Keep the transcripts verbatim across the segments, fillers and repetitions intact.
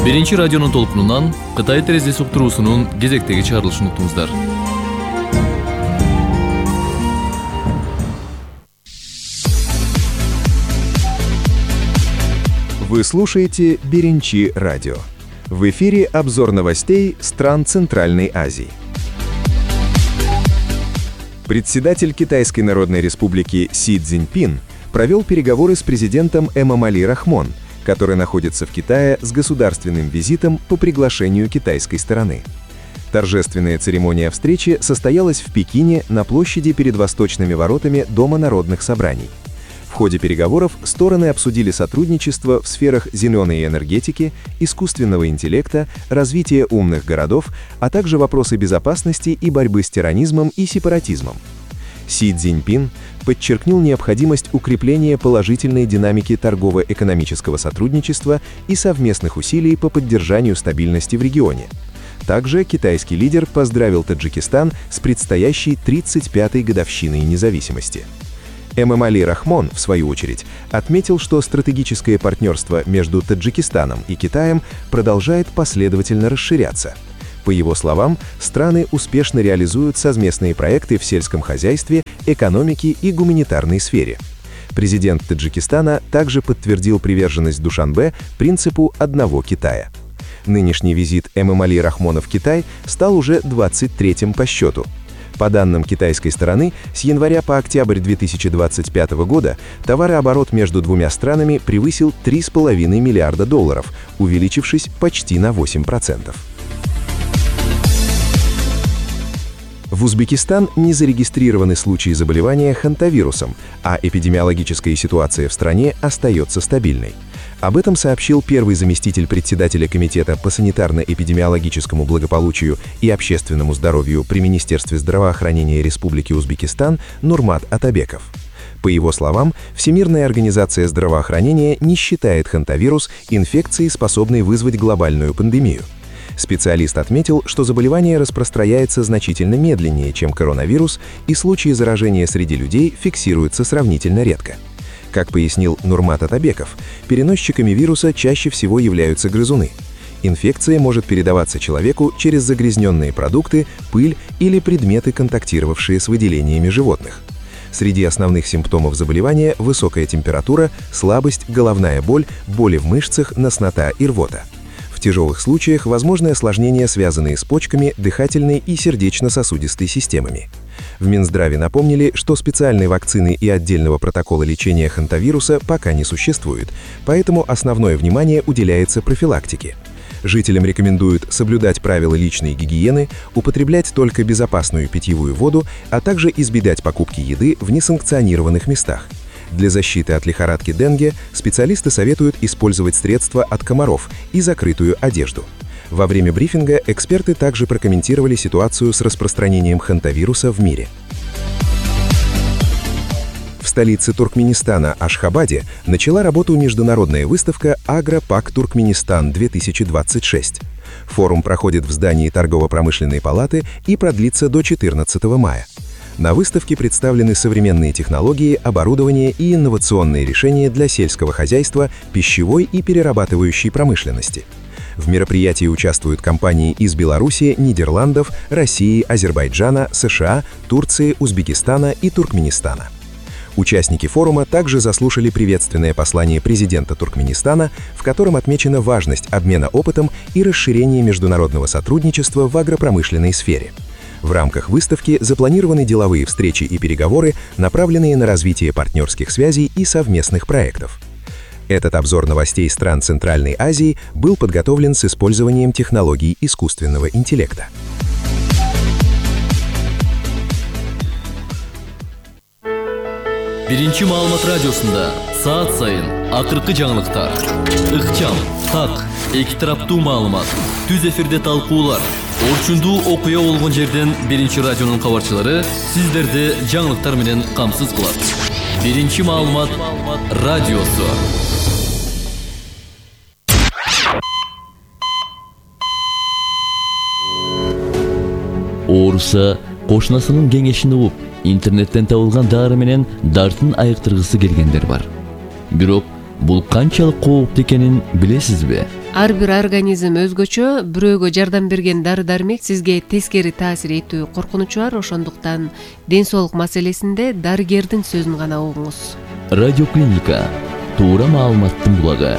Биринчи радионун толкунунан Кытай терезеси уктуруусунун кезектеги чыгарылышын уктуңуздар. Вы слушаете Биринчи радио. В эфире обзор новостей стран Центральной Азии. Председатель Китайской Народной Республики Си Цзиньпин провел переговоры с президентом Эмомали Рахмон, который находится в Китае с государственным визитом по приглашению китайской стороны. Торжественная церемония встречи состоялась в Пекине на площади перед восточными воротами Дома народных собраний. В ходе переговоров стороны обсудили сотрудничество в сферах зеленой энергетики, искусственного интеллекта, развития умных городов, а также вопросы безопасности и борьбы с терроризмом и сепаратизмом. Си Цзиньпин подчеркнул необходимость укрепления положительной динамики торгово-экономического сотрудничества и совместных усилий по поддержанию стабильности в регионе. Также китайский лидер поздравил Таджикистан с предстоящей тридцать пятой годовщиной независимости. Эмомали Рахмон, в свою очередь, отметил, что стратегическое партнерство между Таджикистаном и Китаем продолжает последовательно расширяться. По его словам, страны успешно реализуют совместные проекты в сельском хозяйстве, экономике и гуманитарной сфере. Президент Таджикистана также подтвердил приверженность Душанбе принципу одного Китая. Нынешний визит Эмомали Рахмона в Китай стал уже двадцать третьим по счету. По данным китайской стороны, с января по октябрь две тысячи двадцать пятого года товарооборот между двумя странами превысил три с половиной миллиарда долларов, увеличившись почти на восемь процентов. В Узбекистан не зарегистрированы случаи заболевания хантавирусом, а эпидемиологическая ситуация в стране остается стабильной. Об этом сообщил первый заместитель председателя Комитета по санитарно-эпидемиологическому благополучию и общественному здоровью при Министерстве здравоохранения Республики Узбекистан Нурмат Атабеков. По его словам, Всемирная организация здравоохранения не считает хантавирус инфекцией, способной вызвать глобальную пандемию. Специалист отметил, что заболевание распространяется значительно медленнее, чем коронавирус, и случаи заражения среди людей фиксируются сравнительно редко. Как пояснил Нурмат Атабеков, переносчиками вируса чаще всего являются грызуны. Инфекция может передаваться человеку через загрязненные продукты, пыль или предметы, контактировавшие с выделениями животных. Среди основных симптомов заболевания – высокая температура, слабость, головная боль, боли в мышцах, тошнота и рвота. В тяжелых случаях возможны осложнения, связанные с почками, дыхательной и сердечно-сосудистой системами. В Минздраве напомнили, что специальной вакцины и отдельного протокола лечения хантавируса пока не существует, поэтому основное внимание уделяется профилактике. Жителям рекомендуют соблюдать правила личной гигиены, употреблять только безопасную питьевую воду, а также избегать покупки еды в несанкционированных местах. Для защиты от лихорадки денге специалисты советуют использовать средства от комаров и закрытую одежду. Во время брифинга эксперты также прокомментировали ситуацию с распространением хантавируса в мире. В столице Туркменистана Ашхабаде начала работу международная выставка «Агропак Туркменистан-две тысячи двадцать шесть». Форум проходит в здании торгово-промышленной палаты и продлится до четырнадцатого мая. На выставке представлены современные технологии, оборудование и инновационные решения для сельского хозяйства, пищевой и перерабатывающей промышленности. В мероприятии участвуют компании из Беларуси, Нидерландов, России, Азербайджана, США, Турции, Узбекистана и Туркменистана. Участники форума также заслушали приветственное послание президента Туркменистана, в котором отмечена важность обмена опытом и расширения международного сотрудничества в агропромышленной сфере. В рамках выставки запланированы деловые встречи и переговоры, направленные на развитие партнерских связей и совместных проектов. Этот обзор новостей стран Центральной Азии был подготовлен с использованием технологий искусственного интеллекта. Биринчи маалымат радиосунда саат сайын акыркы жаңылыктар, ыкчам, так, эки тараптуу маалымат, түз эфирде талкуулар, орчундуу окуя болгон жерден Биринчи радионун кабарчылары сиздерди жаңылыктар менен камсыз кылат. Биринчи маалымат радиосу. Ооруса кошунасынын кеңешин угуп, интернеттен табылган дары менен дартын айыктыргысы келгендер бар. Бирок бул канчалык кооптуу экенин билесизби? Ар бир организм өзгөчө, бирөөгө жардам берген дары-дармек сизге тескери таасир этүү коркунучу бар, ошондуктан ден соолук маселесинде дарыгердин сөзүн гана угуңуз. Радиоклиника туура маалыматтын булагы.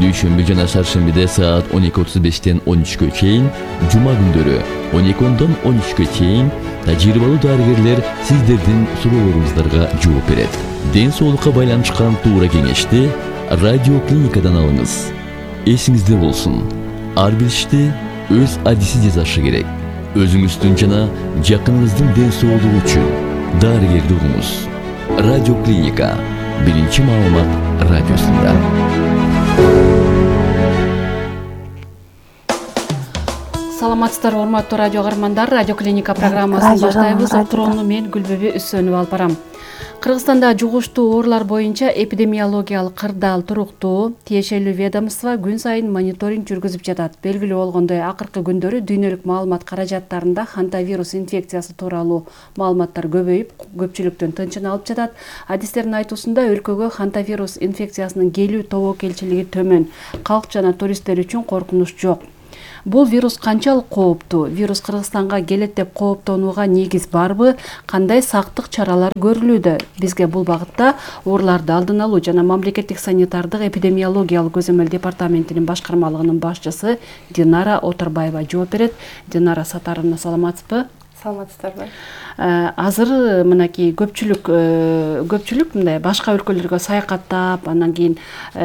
Дүйшөмбү жана шаршембиде саат он эки отуз бештен он үчкө чейин, жума күндөрү он эки ондон он үчкө чейин тажрыйбалуу дарыгерлер сиздердин суроолоруңуздарга жооп берет. Ден соолукка байланышкан туура кеңешти радиоклиникадан алыңыз. Эсиңизде болсун, ар бир ишти өз адиси жасашы керек. Өзүңүздүн жана жакыныңыздын ден соолугу үчүн дарыгерди угуңуз. Радиоклиника биринчи маалымат радиосунда. Саламатсыздарбы, урматтуу радио каармандар. Радиоклиника программасын баштайбыз. Отурууну мен Гүлбүбү Үсөнүп алып барам. Кыргызстанда жугуштуу оорулар боюнча эпидемиологиялык кырдаал туруктуу. Тиешелүү ведомство күн сайын мониторинг жүргүзүп жатат. Белгилүү болгондой, акыркы күндөрү дүйнөлүк маалымат каражаттарында хантавирус инфекциясы тууралуу маалыматтар көбөйүп, көпчүлүктөн тынчын алып жатат. Адистердин айтуусунда өлкөгө хантавирус инфекциясынын келүү тобокелчилиги төмөн. Калк жана туристтер үчүн коркунуч жок. Бул вирус канчалык кооптуу? Вирус Кыргызстанга келет деп кооптонууга негиз барбы? Кандай сактык чаралар көрүлүүдө? Бизге бул багытта ооруларды алдын алуу жана мамлекеттик санитардык эпидемиологиялык көзөмөл департаментинин башкармалыгынын башчысы Динара Оторбаева жооп берет. Динара Сатаровна, саламатсызбы? Саламатсыздарбы? Азыр мынакей көпчүлүк көпчүлүк мындай башка өлкөлөргө саякаттап, анан кийин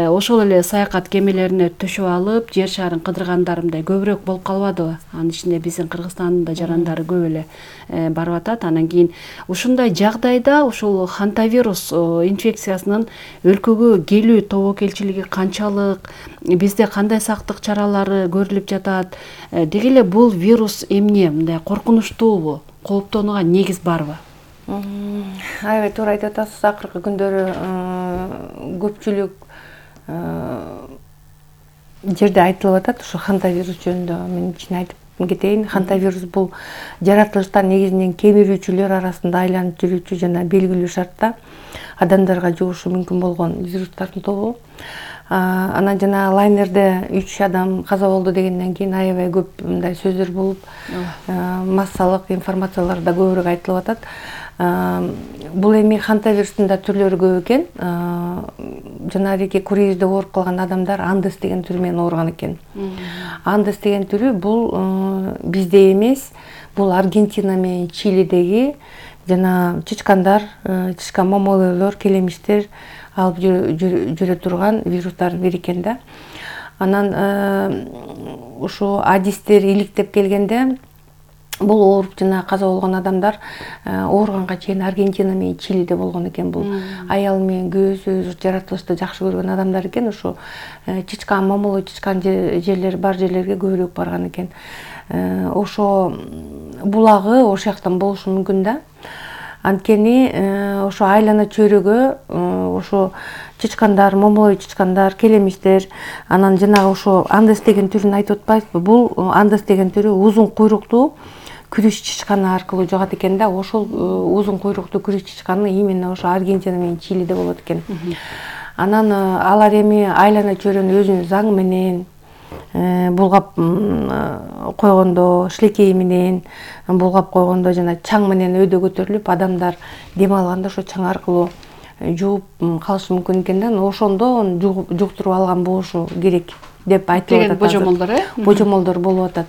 ошол эле саякат кемелерине төшүп алып, жер шарын кыдыргандар мындай көбүрөөк болуп калбадыбы? Анын ичинде биздин Кыргызстандын да жарандары көп эле барып атат. Анан кийин ушундай жагдайда ушул хантавирус инфекциясынын өлкөгө келүү тобокелчилиги канчалык, бизде кандай сактык чаралары көрүлүп жатат? Деги эле бул вирус эмне, мындай коркунучтуубу? Кооптонууга негиз барбы? Аябай туура айтып атасыз. Акыркы күндөрү көпчүлүк жерде айтылып атат ушу хантавирус жөнүндө. Мен ичине айтып кетейин. Хантавирус бул жаратылыштан негизинен кемирүүчүлөр арасында айланып жүрүүчү жана белгилүү шартта адамдарга жугушу мүмкүн болгон вирустардын тобу. Анан жана лайнерде үч адам каза болду дегенден кийин аябай көп мындай сөздөр болуп, массалык информациялар да көбүрөөк айтылып атат. Бул эми хантавирустун да түрлөрү көп экен. Жанагы круизде ооруп калган адамдар андес деген түрү менен ооруган экен. Андес деген түрү бул бизде эмес, бул Аргентина менен Чилидеги жана чычкандар, чычкан момолойлор, келемиштер алып жүрө турган вирустардын бири экен да. Анан ушу адистер иликтеп келгенде бул ооруп жана каза болгон адамдар ооруганга чейин Аргентина менен Чилиде болгон экен. Бул аял менен күйөөсү жаратылышты жакшы көргөн адамдар экен. Ушу чычкан, момолой чычкан жерлер бар жерлерге көбүрөөк барган экен. Ошо булагы ошол жактан болушу мүмкүн да. Анткени ошо айлана чөйрөгө ошо чычкандар, момолой чычкандар, келемиштер, анан жанагы ошо андес деген түрүн айтып атпайсызбы? Бул андес деген түрү узун куйруктуу күрүч чычканы аркылуу жугат экен да. Ошол узун куйруктуу күрүч чычканы именно ошо Аргентина менен Чилиде болот экен. Анан алар эми айлана чөйрөнү өзүнүн заңы менен булгап койгондо, шилекей менен булгап койгондо жана чаң менен өйдө көтөрүлүп, адамдар дем алганда ошо чаң аркылуу жууп калышы мүмкүн экен да. Ошондо жуктуруп алган болушу керек деп айтылып атат. Божомолдор, э? Божомолдор болуп атат.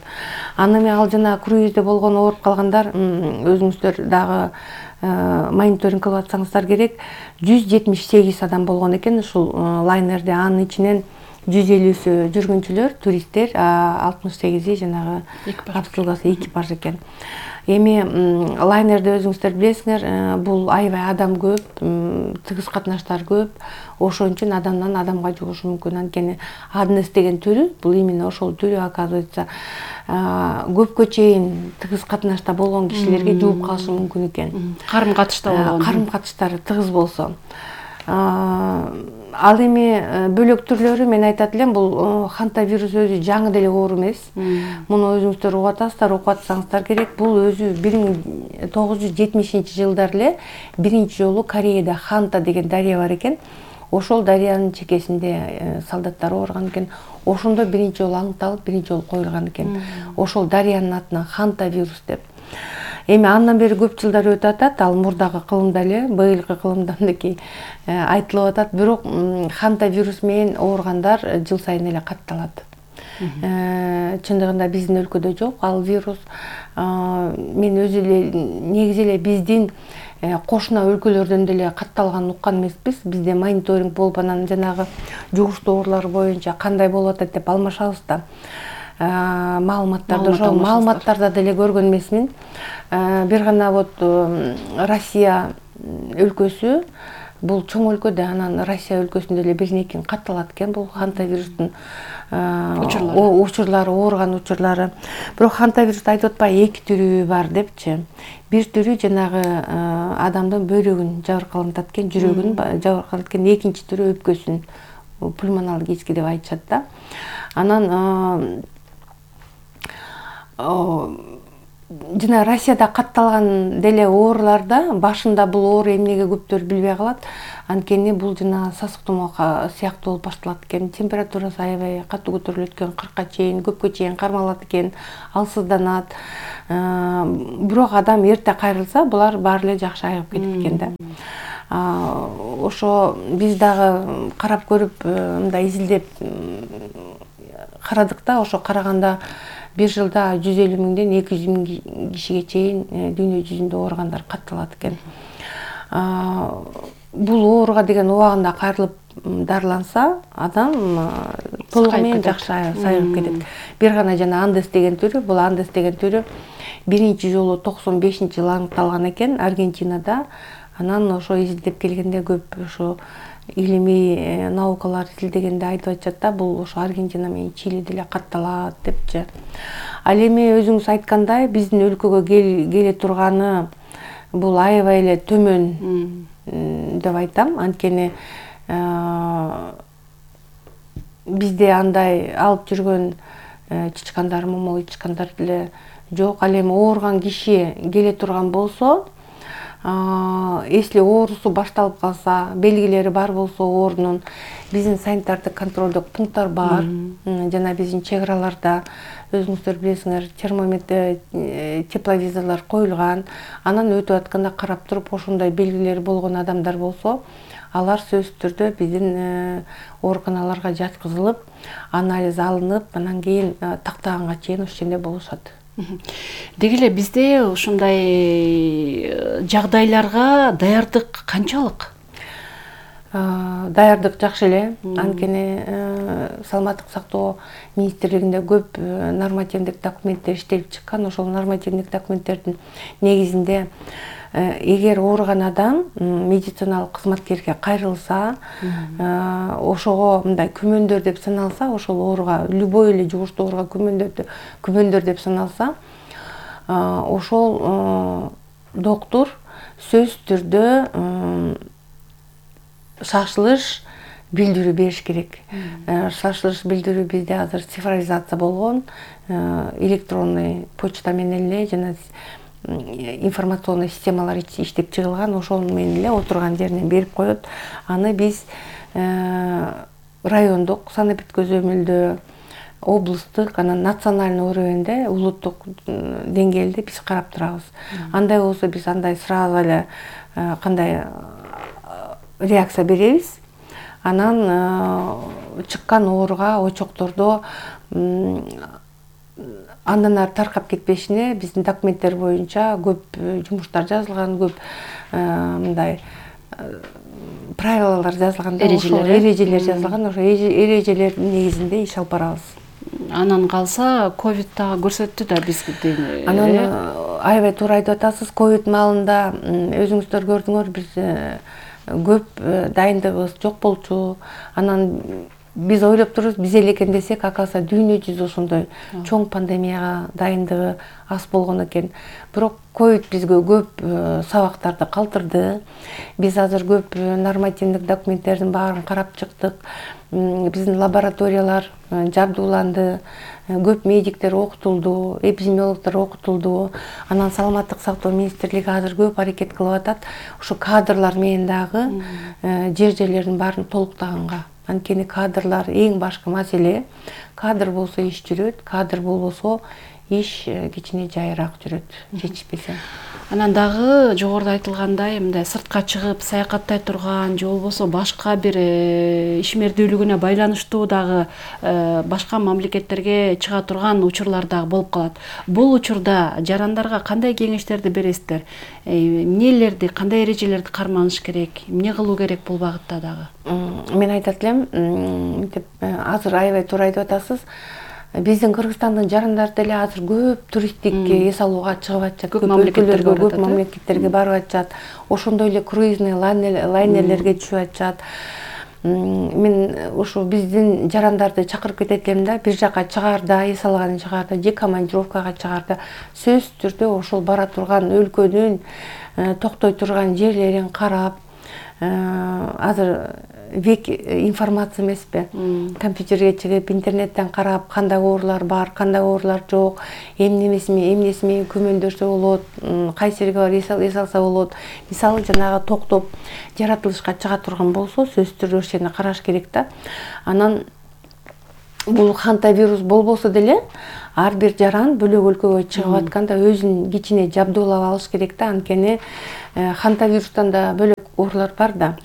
Анан ал жана круизде болгон ооруп калгандар, өзүңүздөр дагы мониторинг кылып атсаңыздар керек, жүз жетимиш сегиз адам болгон экен ушул лайнерде. Анын ичинен жүз элүүсү жүргүнчүлөр, туристтер, алтымыш сегизи жанагы капсуласы экипаж экен. Эми лайнерде өзүңүздөр билесиңер, бул аябай адам көп, тыгыз катнаштар көп. Ошон үчүн адамдан адамга жугушу мүмкүн. Анткени андес деген түрү, бул именно ошол түрү, оказывается, көпкө чейин тыгыз катнашта болгон кишилерге жууп калышы мүмкүн экен. Карым катышта болгон. Карым катыштары тыгыз болсо. Ал эми бөлөк түрлөрү мен айтат элем, бул хантавирус өзү жаңы деле оору эмес. Муну өзүңүздөр угуп атасыздар, окуп атсаңыздар керек. Бул өзү бир миң тогуз жүз жетимишинчи жылдар эле биринчи жолу Кореяда Ханта деген дарыя бар экен. ошол дарыянын чекесинде солдаттар ооруган экен. Ошондо биринчи жолу аныкталып, биринчи жолу коюлган экен. Ошол дарыянын атынан хантавирус деп. Эми андан бери көп жылдар өтүп атат, ал мурдагы кылымда эле, быйылкы кылымда мындай айтылып атат, бирок хантавирус менен ооругандар жыл сайын эле катталат. Чындыгында биздин өлкөдө жок ал вирус. Мен өзү эле негизи эле биздин кошуна өлкөлөрдөн деле катталганын уккан эмеспиз. Бизде мониторинг болуп, анан жанагы жугуштуу оорулар боюнча кандай болуп атат деп алмашабыз да. Маалыматтарды ошол маалыматтарда деле көргөн эмесмин. Бир гана вот Россия өлкөсү, бул чоң өлкө да, анан Россия өлкөсүндө эле бир некин катталат экен бул хантавирустун учурлары, ооруган учурлары. Бирок хантавирусту айтып атпай эки түрү бар депчи. Бир түрү жанагы адамдын бөйрөгүн жабыркалантат экен, жүрөгүн жабыркалантат экен, экинчи түрү өпкөсүн, пульмоналгический деп айтышат да. Анан жана Россияда катталган деле ооруларда башында бул оору эмнеге көптөр билбей калат. Анткени бул жана сасык тумоо сыяктуу болуп башталат экен. Температурасы аябай катуу көтөрүлөт экен, кыркка чейин, көпкө чейин кармалат экен, алсызданат. Бирок адам эрте кайрылса, булар баары эле жакшы айыгып кетет экен да. Ошо биз дагы карап көрүп, мындай изилдеп карадык да, ошо караганда бир жылда жүз элүү миңден эки жүз миң кишиге чейин дүйнө жүзүндө ооругандар катталат экен. Бул ооруга деген убагында кайрылып дарыланса, адам толугу менен жакшы сайыгып кетет. Бир гана жана андес деген түрү, бул андес деген түрү биринчи жолу токсон бешинчи жылы аныкталган экен Аргентинада. Анан ошо изилдеп келгенде көп ошо илимий наукалар изилдегенде айтып атышат да, бул ошо Аргентина менен Чили деле катталат депчи. Ал эми өзүңүз айткандай, биздин өлкөгө келе турганы бул аябай эле төмөн деп айтам. Анткени бизде андай алып жүргөн чычкандар, момол чычкандар деле жок. Ал эми ооруган киши келе турган болсо, если оорусу башталып калса, белгилери бар болсо оорунун, биздин санитардык контролдук пункттар бар. Жана биздин чек араларда өзүңүздөр билесиңер, термометр, тепловизорлор коюлган. Анан өтүп атканда карап туруп, ошондой белгилери болгон адамдар болсо, алар сөзсүз түрдө биздин ооруканаларга жаткызылып, анализ алынып, анан кийин тактаганга чейин ошол жерде болушат. Деги эле бизде ушундай жагдайларга даярдык канчалык? Даярдык жакшы эле. Анткени саламаттык сактоо министрлигинде көп нормативдик документтер иштелип чыккан. Ошол нормативдик документтердин негизинде эгер ооруган адам медициналык кызматкерге кайрылса, ошого мындай күмөндөр деп саналса, ошол ооруга, любой эле жугуштуу ооруга күмөндөр күмөндөр деп саналса, ошол доктур сөзсүз түрдө шашылыш билдирүү бериш керек. Шашылыш билдирүү бизде азыр цифровизация болгон, электронный почта менен эле жана информационный системалар иштеп чыгылган, ошол менен эле отурган жеринен берип коет. Аны биз райондук санэпид көзөмөлдө, облустук, анан национальный уровеньде, улуттук деңгээлде биз карап турабыз. Андай болсо биз андай сразу эле кандай реакция беребиз. Анан чыккан ооруга, очоктордо андан ары таркап кетпешине биздин документтер боюнча көп жумуштар жазылган, көп мындай правилалар жазылган, эрежелер жазылган. Ошо эрежелердин негизинде иш алып барабыз. Анан калса ковид дагы көрсөттү да бизге. Анан аябай туура айтып атасыз. Ковид маалында өзүңүздөр көрдүңөр, биз көп дайындыгыбыз жок болчу. Анан биз ойлоп турубуз, биз эле экен десек, акасы дүйнө жүзү ошондой чоң пандемияга дайындыгы аз болгон экен. Бирок ковид бизге көп сабактарды калтырды. Биз азыр көп нормативдик документтердин баарын карап чыктык. биздин лабораториялар жабдууланды, көп медиктер окутулду, эпидемиологдор окутулду. Анан саламаттык сактоо министрлиги азыр көп аракет кылып атат ушу кадрлар менен дагы жер жерлердин баарын толуктаганга. Анткени кадрлар эң башкы маселе. Кадр болсо иш жүрөт, кадр болбосо иш кичине жайыраак жүрөт, жетишпесе. Анан дагы жогоруда айтылгандай, мындай сыртка чыгып саякаттай турган же болбосо башка бир ишмердүүлүгүнө байланыштуу дагы башка мамлекеттерге чыга турган учурлар дагы болуп калат. Бул учурда жарандарга кандай кеңештерди бересиздер? Эмнелерди, кандай эрежелерди карманыш керек? Эмне кылуу керек бул багытта дагы? Мен айтат элем, азыр аябай туура айтып атасыз. Биздин Кыргызстандын жарандары деле азыр көп туристтик эс алууга чыгып атышат, көп өлкөлөргө, көп мамлекеттерге барып атышат. Ошондой эле круизный лайнерлерге түшүп атышат. Мен ушу биздин жарандарды чакырып кетет элем да, бир жака чыгаарда, эс алган чыгаарда, же командировкага чыгаарда сөзсүз түрдө ошол бара турган өлкөнүн токтой турган жерлерин карап, азыр век информация эмеспи, компьютерге чыгып интернеттен карап кандай оорулар бар, кандай оорулар жок, эмнеси эмнеси менен көмөндөшсө болот, кайсы жерге барып эс алса болот. Мисалы жанагы токтоп жаратылышка чыга турган болсо сөзсүз түрдө ошол жерди караш керек да. Анан бул хантавирус болбосо деле ар бир жаран бөлөк өлкөгө чыгып атканда өзүн кичине жабдуулап алыш керек да. Анткени хантавирустан да бөлөк оорулар бар да.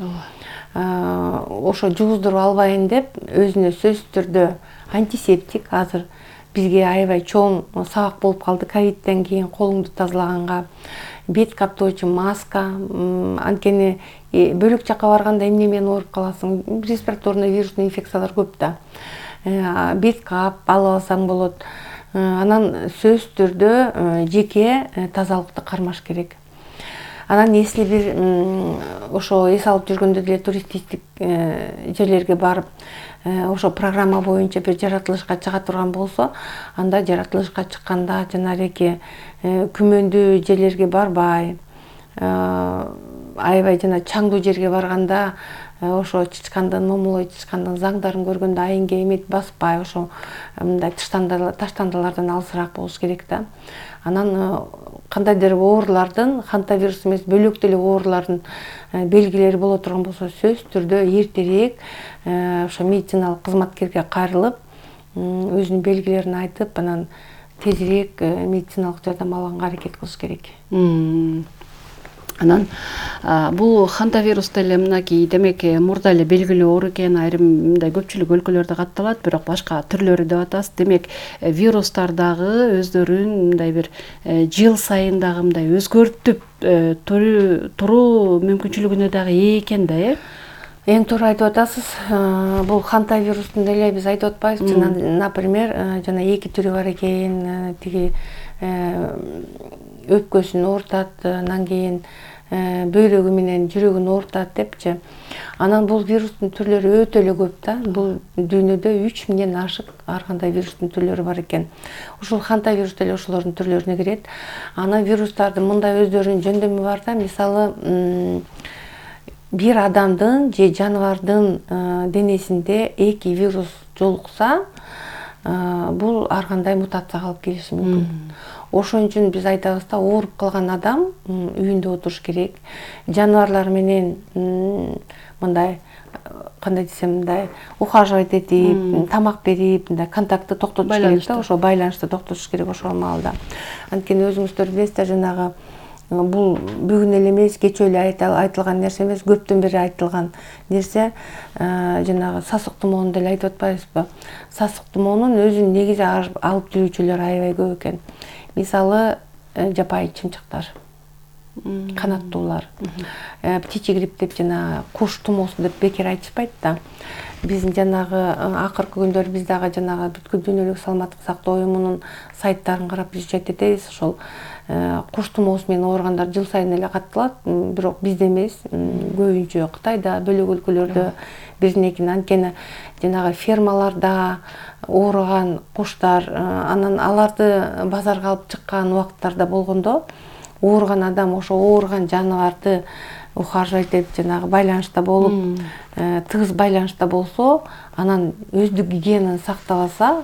Ошо жугуздуруп албайын деп өзүнө сөзсүз түрдө антисептик, азыр бизге аябай чоң сабак болуп калды ковидтен кийин колуңду тазалаганга, бет каптоочу маска. Анткени бөлөк жака барганда эмне менен ооруп каласың? Респираторный вирусный инфекциялар көп да. Бет кап алып алсаң болот. Анан сөзсүз түрдө жеке тазалыкты кармаш керек. Анан если бир ошо эс алып жүргөндө деле туристтик жерлерге барып, ошо программа боюнча бир жаратылышка чыга турган болсо, анда жаратылышка чыкканда жанагы күмөндүү жерлерге барбай, аябай жана чаңдуу жерге барганда ошо чычкандын, момолой чычкандын заңдарын көргөндө айынга эмет баспай, ошо мындай таштандылардан алысыраак болуш керек да. Анан кандайдыр оорулардын, хантавирус эмес, бөлөк деле оорулардын белгилери боло турган болсо, сөзсүз түрдө эртерээк ошо медициналык кызматкерге кайрылып, өзүнүн белгилерин айтып, анан тезирээк медициналык жардам алганга аракет кылыш керек. Анан бул хантавирус деле мынакей демек мурда эле белгилүү оору экен, айрым мындай көпчүлүк өлкөлөрдө катталат, бирок башка түрлөрү деп атасыз. Демек вирустар дагы өздөрүн мындай бир жыл сайын дагы мындай өзгөртүп туруу мүмкүнчүлүгүнө дагы ээ экен да, э? Эң туура айтып атасыз. Бул хантавирустун деле биз айтып атпайбызбы? Жана, например, жана эки түрү бар экен, тиги өпкөсүн оорутат, анан кийин бөйрөгү менен жүрөгүн оорутат депчи. Анан бул вирустун түрлөрү өтө эле көп да. Бул дүйнөдө үч миңден ашык ар кандай вирустун түрлөрү бар экен. Ушул хантавирус деле ошолордун түрлөрүнө кирет. Анан вирустардын мындай өздөрүнүн жөндөмү бар да. Мисалы, бир адамдын же жаныбардын денесинде эки вирус жолукса, бул ар кандай мутацияга алып келиши мүмкүн. Ошон үчүн биз айтабыз да, ооруп калган адам үйүндө отуруш керек. Жаныбарлар менен мындай, кандай десем, мындай ухаживать этип, тамак берип, мындай контактты токтотуш керек да, ошо байланышты токтотуш керек ошол маалда. Анткени өзүңүздөр билесиздер, жанагы бул бүгүн эле эмес, кечээ эле айтылган нерсе эмес, көптөн бери айтылган нерсе. Жанагы сасык тумоonu деле айтып атпайбызбы? Сасык тумоонун өзүн негизи алып жүрүүчүлөр аябай көп экен. Мисалы, жапайы чымчыктар, канаттуулар, птичий грипп деп жана куш тумоосу деп бекер айтышпайт да. Биздин жанагы акыркы күндөр биз дагы жанагы бүткүл дүйнөлүк саламаттык сактоо уюмунун сайттарын карап изчет этебиз. Ошол куш тумоосу менен ооругандар жыл сайын эле катталат, бирок бизде эмес, көбүнчө Кытайда, бөлөк өлкөлөрдө биздин экен. Анткени жанагы фермаларда ооруган куштар, анан аларды базарга алып чыккан убакыттарда болгондо, ооруган адам ошо ооруган жаныбарды ухаживать деп жанагы байланышта болуп, тыгыз байланышта болсо, анан өздүк гигиенаны сактабаса,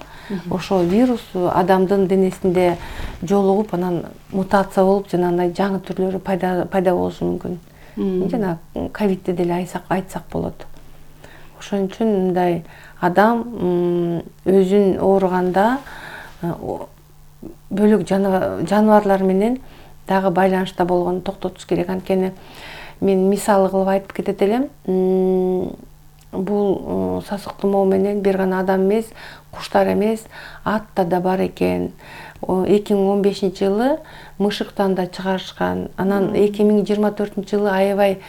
ошо вирус адамдын денесинде жолугуп, анан мутация болуп, жанагындай жаңы түрлөрү пайда пайда болушу мүмкүн. Жана ковидти деле айтсак айтсак болот. Ошон үчүн мындай адам өзүн ооруганда бөлөк жаныбарлар менен дагы байланышта болгонду токтотуш керек. Анткени мен мисалы кылып айтып кетет элем. Бул сасык тумоо менен бир гана адам эмес, куштар эмес, атта да бар экен. эки миң он бешинчи жылы мышыктан да чыгарышкан. Анан эки миң жыйырма төртүнчү жылы аябай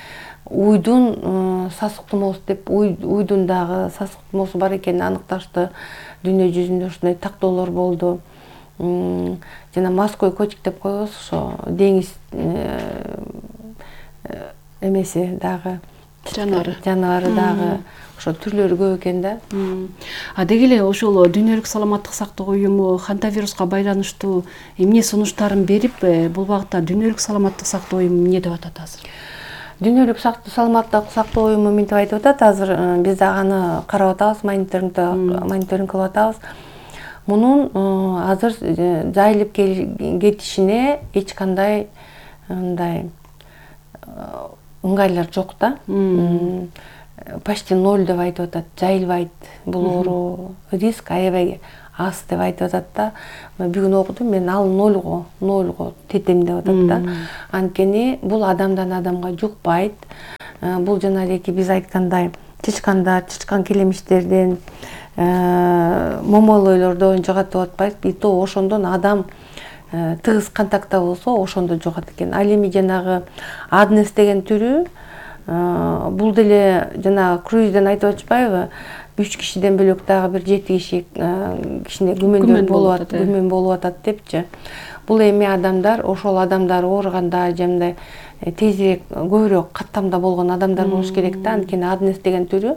уйдун сасык тумоосу деп, уйдун дагы сасык тумоосу бар экенин аныкташты. Дүйнө жүзүндө ушундай тактоолор болду. Жана морской котик деп коебуз, ошо деңиз эмеси дагы жаныбары жаныбары дагы ошо түрлөрү көп экен да. А деги эле ошол Дүйнөлүк саламаттык сактоо уюму хантавируска байланыштуу эмне сунуштарын берип, бул багытта Дүйнөлүк саламаттык сактоо уюму эмне деп атат азыр? Дүйнөлүк саламаттык сактоо уюму мынтип айтып атат, азыр биз дагы аны карап атабыз, мониторинг кылып атабыз. Мунун азыр жайылып кетишине эч кандай мындай ыңгайлар жок да. Почти ноль деп айтып атат, жайылбайт бул оору, риск аябай аз деп айтып атат да. Бүгүн окудум мен, ал нольго, нольго тетем деп атат да. Анткени бул адамдан адамга жукпайт. Бул жанагы биз айткандай чычкандар, чычкан келемиштерден, момолойлордон жугатып атпайт. И то ошондон адам тыгыз контактта болсо, ошондо жугат экен. Ал эми жанагы аднес деген түрү, бул деле жана круизден айтып атышпайбы? үч кишиден бөлөк дагы бир жети киши кичине күмөндөр болуп атат, күмөн болуп атат депчи. Бул эми адамдар, ошол адамдар ооруганда, жамдай тезирээк, көбүрөөк каттамда болгон адамдар болуш керек да. Анткени аднес деген түрү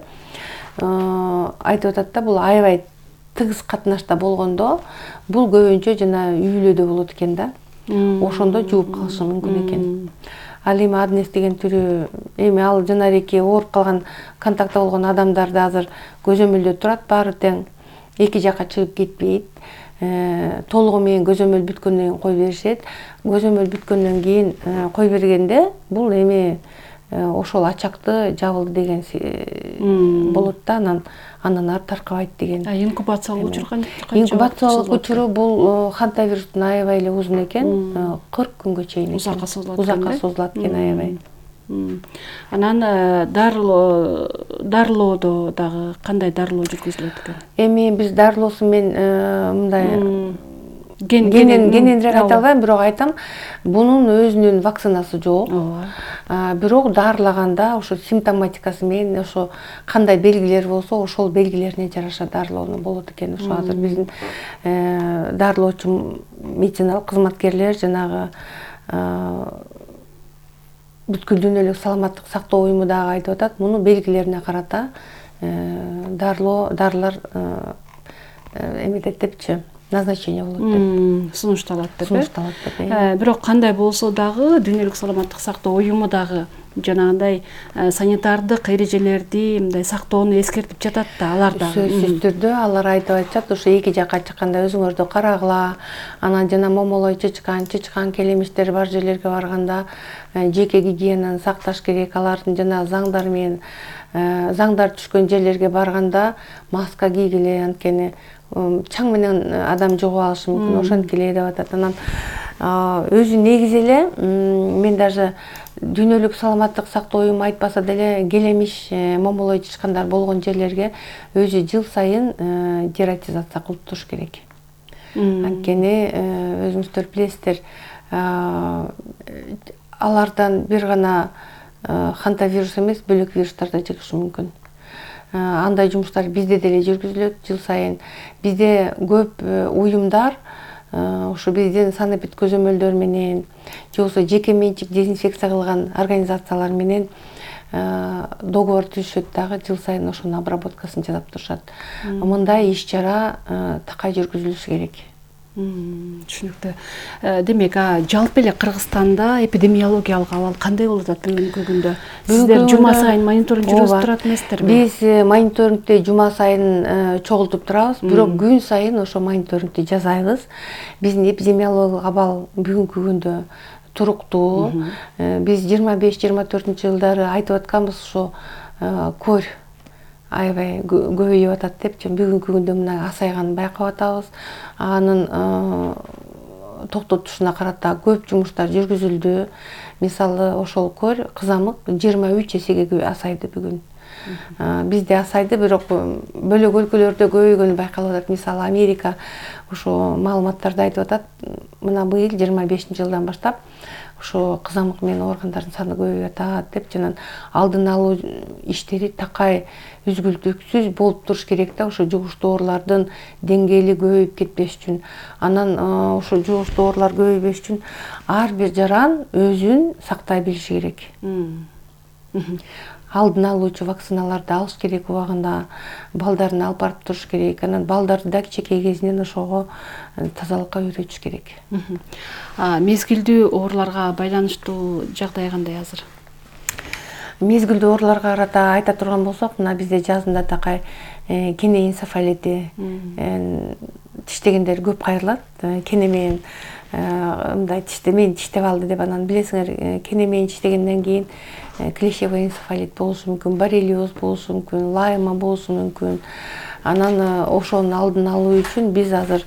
айтып атат да, бул аябай тыгыз катнашта болгондо, бул көбүнчө жана үйлөдө болот экен да. Ошондо жууп калышы мүмкүн экен. Ал эми аднес деген түрү, эми ал жанареки ооруп калган, контактта болгон адамдарды азыр көзөмөлдө турат, баары тең эки жакка чыгып кетпейт. Толугу менен көзөмөл бүткөндөн кийин кой беришет. Көзөмөл бүткөндөн кийин кой бергенде бул эми ошол ачакты жабылды деген болот да, анан андан ары таркабайт деген. Инкубациялык учур канча? Инкубациялык учуру бул хантавирустун аябай эле узун экен, кырк күнгө чейин. Узакка созулат. Узакка созулат экен аябай. Анан дарылоо, дарылоодо дагы кандай дарылоо жүргүзүлөт экен? Эми биз дарылоосун мен мындай кененирээк айта албайм, бирок айтам, бунун өзүнүн вакцинасы жок. Бирок дарылаганда ошо симптоматикасы менен, ошо кандай белгилер болсо, ошол белгилерине жараша дарылоону болот экен. Ошо азыр биздин дарылоочу медициналык кызматкерлер жанагы бүткүл дүйнөлүк саламаттык сактоо уюму дагы айтып атат, муну белгилерине карата дарылоо, дарылар эметет депчи, назначение болот деп. Сунушталат деп. Сунушталат деп. Бирок кандай болсо дагы Дүйнөлүк саламаттык сактоо уюму дагы жанагындай санитардык эрежелерди, мындай сактоону эскертип жатат да, алар дагы. Сөзсүз түрдө алар айтып атышат, ошо эки жакка чыкканда өзүңөрдү карагыла, анан жана момолой чычкан, чычкан келемиштер бар жерлерге барганда жеке гигиенаны сакташ керек. Алардын жана заңдар менен, заңдар түшкөн жерлерге барганда маска кийгиле, анткени чаң менен адам жугуп алышы мүмкүн, ошенткиле деп атат. Анан өзү негизи эле мен даже Дүйнөлүк саламаттык сактоо уюму айтпаса деле келемиш, момолой чычкандар болгон жерлерге өзү жыл сайын дератизация кылып туруш керек. Анткени өзүңүздөр билесиздер, алардан бир гана хантавирус эмес, бөлөк вирустар да чыгышы мүмкүн. Андай жумуштар бизде деле жүргүзүлөт жыл сайын. Бизде көп уюмдар ошо биздин санэпид көзөмөлдөр менен, же болбосо жеке менчик дезинфекция кылган организациялар менен договор түзүшөт дагы, жыл сайын ошонун обработкасын жасап турушат. Мындай иш чара такай жүргүзүлүшү керек. Түшүнүктүү. Демек, жалпы эле Кыргызстанда эпидемиологиялык абал кандай болуп атат бүгүнкү күндө? Сиздер жума сайын мониторинг жүргүзүп турат эмессиздерби? Биз мониторингди жума сайын чогултуп турабыз, бирок күн сайын ошо мониторингди жасайбыз. Биздин эпидемиологиялык абал бүгүнкү күндө туруктуу. Биз жыйырма беш жыйырма төртүнчү жылдары айтып атканбыз, ошо көр аябай көбөйүп атат деп, бүгүнкү күндө мына асайганын байкап атабыз. Анын токтотушуна карата көп жумуштар жүргүзүлдү. Мисалы, ошол көр кызамык жыйырма үч эсеге асайды бүгүн. Бизде асайды, бирок бөлөк өлкөлөрдө көбөйгөнү байкалып атат. Мисалы, Америка ошо маалыматтарды айтып атат. Мына быйыл жыйырма бешинчи жылдан баштап ошо кызамык менен ооругандардын саны көбөйүп атат деп, жана алдын алуу иштери такай үзгүлтүксүз болуп туруш керек да, ошо жугуштуу оорулардын деңгээли көбөйүп кетпеш үчүн. Анан ошо жугуштуу оорулар көбөйбөш үчүн ар бир жаран өзүн сактай билиши керек. Алдын алуучу вакциналарды алыш керек убагында, балдарын алып барып туруш керек. Анан балдарды да кичинекей кезинен ошого тазалыкка үйрөтүш керек. Мезгилдүү ооруларга байланыштуу жагдай кандай азыр? Мезгилдүү ооруларга карата айта турган болсок, мына бизде жазында такай кене энцефалити, тиштегендер көп кайрылат. Кене менен мындай тиштемейин тиштеп алды деп, анан билесиңер, кене менен тиштегенден кийин клещевой энцефалит болушу мүмкүн, боррелиоз болушу мүмкүн, лайма болушу мүмкүн. Анан ошонун алдын алуу үчүн биз азыр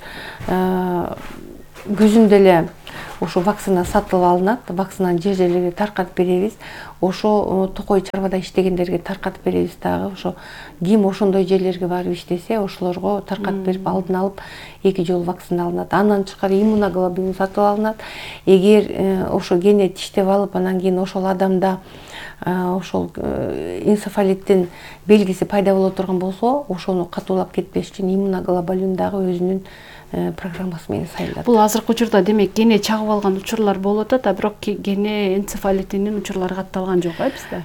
күзүндө эле ошо вакцина сатылып алынат. Вакцинаны жер жерлерге таркатып беребиз. Ошо токой чарбада иштегендерге таркатып беребиз дагы. Ошо ким ошондой жерлерге барып иштесе, ошолорго таркатып берип, алдын алып эки жолу вакцина алынат. Андан тышкары иммуноглобулин сатып алынат. Эгер ошо кене тиштеп алып, анан кийин ошол адамда ошол энцефалиттин белгиси пайда боло турган болсо, ошону катуулап кетпеш үчүн иммуноглобулин дагы өзүнүн программасы менен сайылат. Бул азыркы учурда демек кене чагып алган учурлар болуп атат, а бирок кене энцефалитинин учурлары катталган жок, э, бизде?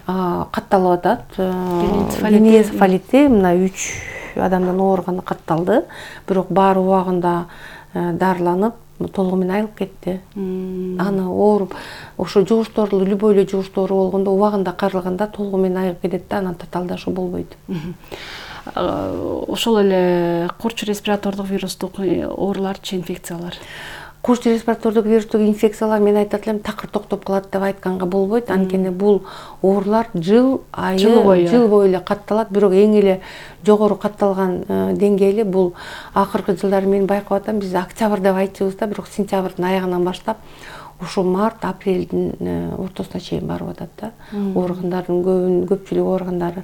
Катталып атат. Кене энцефалити мына үч адамдан ооруганы катталды, бирок баары убагында дарыланып, толугу менен айылып кетти. Аны ооруп, ошо жугуштуу оору, любой эле жугуштуу оору болгондо убагында карылганда толугу менен айыгып кетет да, анан татаалдашуу болбойт. Ошол эле курч респиратордук вирустук ооруларчы, инфекциялар? Курч респиратордук вирустук инфекциялар, мен айтат элем, такыр токтоп калат деп айтканга болбойт. Анткени бул оорулар жыл айы, жыл бою эле катталат, бирок эң эле жогору катталган деңгээли бул акыркы жылдары мен байкап атам. Биз октябрь деп айтчубуз да, бирок сентябрдын аягынан баштап ошо март, апрелдин ортосуна чейин барып атат да. Ооругандардын көбүнүн көпчүлүгү ооругандары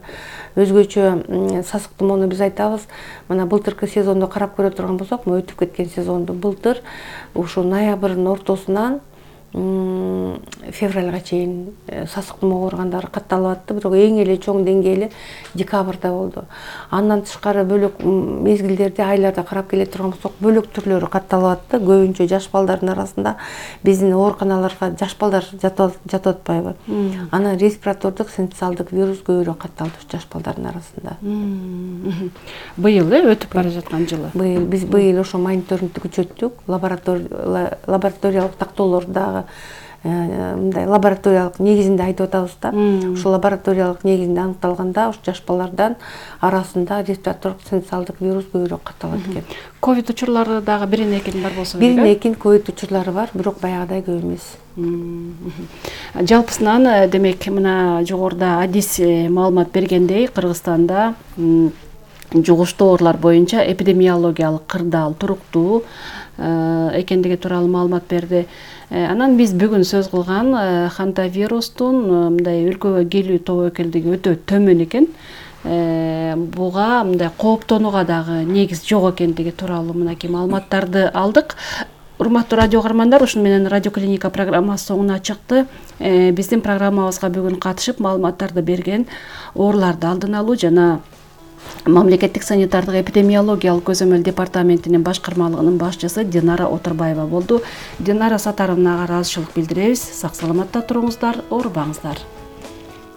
өзгөчө сасык тумоону биз айтабыз. Мына былтыркы сезондо карап көрө турган болсок, өтүп кеткен сезонду былтыр ошо ноябрдын ортосунан февралга чейин сасык тумоо ооругандары катталып атты, бирок эң эле чоң деңгээли декабрда болду. Андан тышкары бөлөк мезгилдерде, айларда карап келе турган болсок, бөлөк түрлөрү катталып атты. Көбүнчө жаш балдардын арасында биздин ооруканаларга жаш балдар жатып атпайбы? Анан респиратордук синцитиалдык вирус көбүрөөк катталды жаш балдардын арасында. Быйыл э өтүп бара жаткан жылы. Быйыл биз быйыл ошо мониторингди күчөттүк, лабораториялык тактоолорду дагы мындай лабораториялык негизинде айтып атабыз да. Ошо лабораториялык негизинде аныкталганда, ошо жаш балдардан арасында респиратордук синцитиалдык вирус көбүрөөк катталат экен. Ковид учурлары дагы бирин экин бар болсо керек. Бирин экин ковид учурлары бар, бирок баягыдай көп эмес. Жалпысынан демек мына жогоруда Адис маалымат бергендей, Кыргызстанда жугуштуу оорулар боюнча эпидемиологиялык кырдаал туруктуу экендиги тууралуу маалымат берди. Анан биз бүгүн сөз кылган хантавирустун мындай өлкөгө келүү тобокелдиги өтө төмөн экен. Буга мындай кооптонууга дагы негиз жок экендиги тууралуу мынакей маалыматтарды алдык. Урматтуу радио каармандар, ушуну менен Радио Клиника программасы соңуна чыкты. Биздин программабызга бүгүн катышып маалыматтарды берген ооруларды алдын алуу жана Мамлекеттик санитардык эпидемиологиялык көзөмөл департаментинин башкармалыгынын башчысы Динара Отурбаева болду. Динара Сатаровнага ыраазычылык билдиребиз. Сак саламатта туруңуздар, оорубаңыздар.